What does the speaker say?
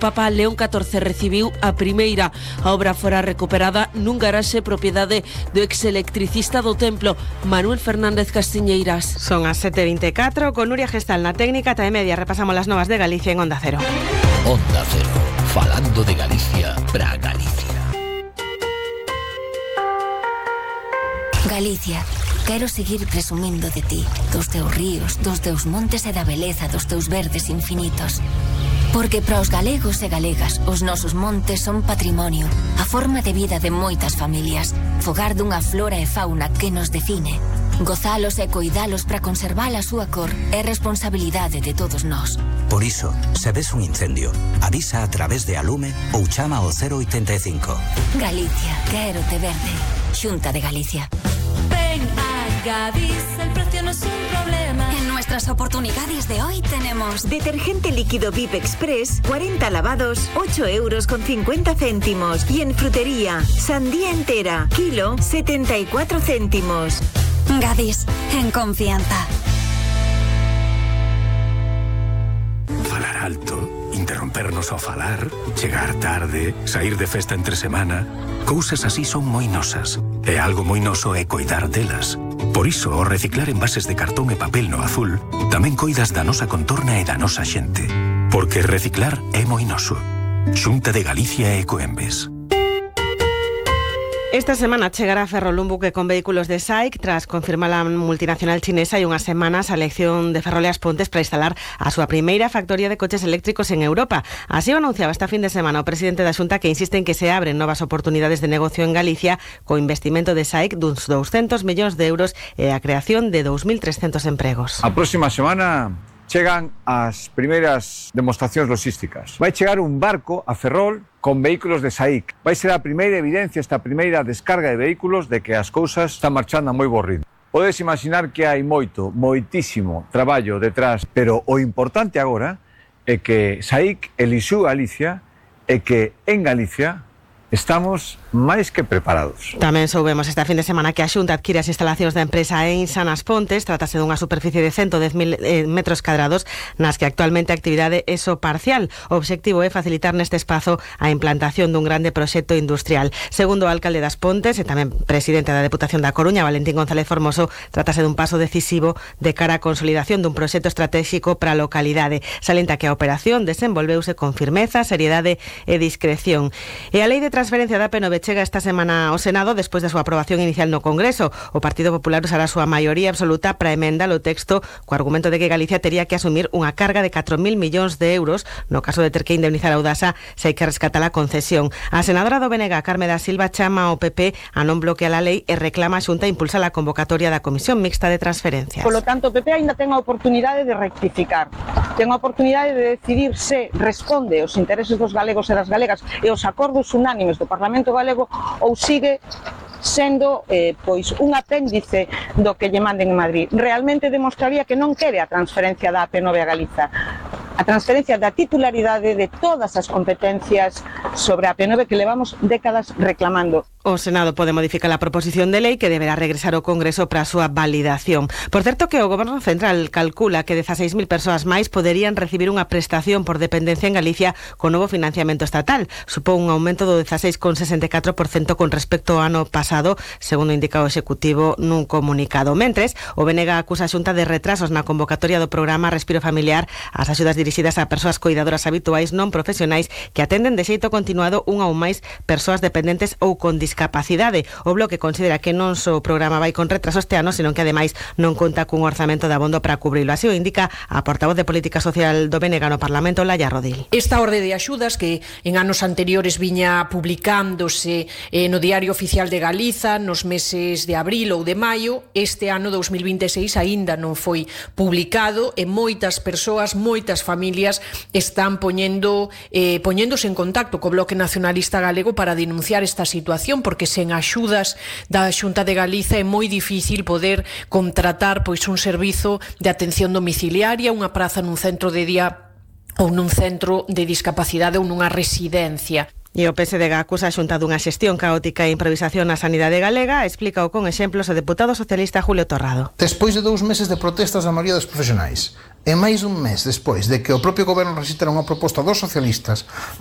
Papa León XIV recibiu a primeira. A obra fora recuperada nun garaxe propiedade do ex-electricista do templo, Manuel Fernández Castiñeiras. Son as 7:24, con Nuria Gestal na técnica, e media repasamos las novas de Galicia en Onda Cero. Onda Cero, falando de Galicia para Galicia. Galicia, quero seguir presumindo de ti, dos teus ríos, dos teus montes e da beleza dos teus verdes infinitos. Porque para os galegos e galegas, os nosos montes son patrimonio, a forma de vida de moitas familias, fogar dunha flora e fauna que nos define. Gozalos e coidalos para conservar a súa cor é responsabilidade de todos nós. Por iso, se ves un incendio, avisa a través de Alume ou chama ao 085. Galicia, quero te verde. Xunta de Galicia. Ven a Gadis, el precio no es un problema. En nuestras oportunidades de hoy tenemos detergente líquido VIP Express, 40 lavados, 8,50 €. Y en frutería, sandía entera, kilo, 74 céntimos. Gadis, en confianza. Falar alto, interrompernos ao falar, chegar tarde, sair de festa entre semana, cousas así son moi nosas. E algo moi noso é coidar delas. Por iso, ao reciclar envases de cartón e papel no azul, tamén coidas da nosa contorna e da nosa xente. Porque reciclar é moi noso. Xunta de Galicia e Ecoembes. Esta semana chegará a Ferrol un buque con vehículos de SAIC tras confirmar a multinacional chinesa hai unhas semanas a elección de Ferrol e As Pontes para instalar a súa primeira factoría de coches eléctricos en Europa. Así o anunciaba esta fin de semana o presidente da Xunta, que insiste en que se abren novas oportunidades de negocio en Galicia co investimento de SAIC duns 200 millóns de euros e a creación de 2.300 empregos. A próxima semana chegan as primeiras demostracións logísticas. Vai chegar un barco a Ferrol con vehículos de SAIC. Vai ser a primeira evidencia, esta primeira descarga de vehículos de que as cousas están marchando a moi bo ritmo. Podes imaginar que hai moitísimo traballo detrás, pero o importante agora é que SAIC elixiu Galicia e que en Galicia estamos máis que preparados. Tamén soubemos esta fin de semana que a Xunta adquire as instalacións da empresa Einsan As Pontes. Trátase dunha superficie de 110.000 metros cadrados nas que actualmente a actividade é só parcial. O obxectivo é facilitar neste espazo a implantación dun grande proxecto industrial. Segundo o alcalde das Pontes e tamén presidente da Deputación da Coruña, Valentín González Formoso, trátase dun paso decisivo de cara á consolidación dun proxecto estratégico para a localidade. Salienta que a operación desenvolveuse con firmeza, seriedade e discreción. E a lei de transferencia da P9 chega esta semana ao Senado despois da súa aprobación inicial no Congreso. O Partido Popular usará a súa maioría absoluta para emendar o texto co argumento de que Galicia tería que asumir unha carga de 4.000 millóns de euros no caso de ter que indemnizar a Audasa se hai que rescatar a concesión. A senadora do BNG, Carme da Silva, chama ao PP a non bloquear a lei e reclama a Xunta impulsar a convocatoria da Comisión Mixta de Transferencias. Por lo tanto, o PP ainda ten a oportunidade de rectificar, ten a oportunidade de decidir se responde aos intereses dos galegos e das galegas e os acordos unánimes do Parlamento Galego ou sigue sendo pois un apéndice do que lle manden en Madrid. Realmente demostraría que non quere a transferencia da AP9 a Galiza, a transferencia da titularidade de todas as competencias sobre a AP9 que levamos décadas reclamando. O Senado pode modificar a proposición de lei que deberá regresar ao Congreso para a súa validación. Por certo que o Goberno Central calcula que 16.000 persoas máis poderían recibir unha prestación por dependencia en Galicia con novo financiamento estatal. Supón un aumento do 16,64% con respecto ao ano pasado, segundo indica o Executivo nun comunicado. Mentres, o BNG acusa a Xunta de retrasos na convocatoria do programa Respiro Familiar, as axudas dirixidas a persoas coidadoras habituais non profesionais que atenden de xeito continuado unha ou máis persoas dependentes ou con discapacidade. O Bloque considera que non só o programa vai con retraso este ano, senón que ademais non conta cun orzamento de abondo para cubrilo. Así o indica a portavoz de Política Social do BNG no Parlamento, Laia Rodil. Esta orde de axudas que en anos anteriores viña publicándose no Diario Oficial de Galiza nos meses de abril ou de maio, este ano 2026 aínda non foi publicado e moitas persoas, moitas familias están poñéndose en contacto co Bloque Nacionalista Galego para denunciar esta situación, porque sen axudas da Xunta de Galiza é moi difícil poder contratar pois un servizo de atención domiciliaria, unha praza nun centro de día ou nun centro de discapacidade ou nunha residencia. E o PSDG acusa a Xunta dunha xestión caótica e improvisación na sanidade galega, explícao con exemplos o deputado socialista Julio Torrado. Despois de 2 meses de protestas da maioría dos profesionais, e máis dun mes despois de que o propio goberno rexistara unha proposta dos socialistas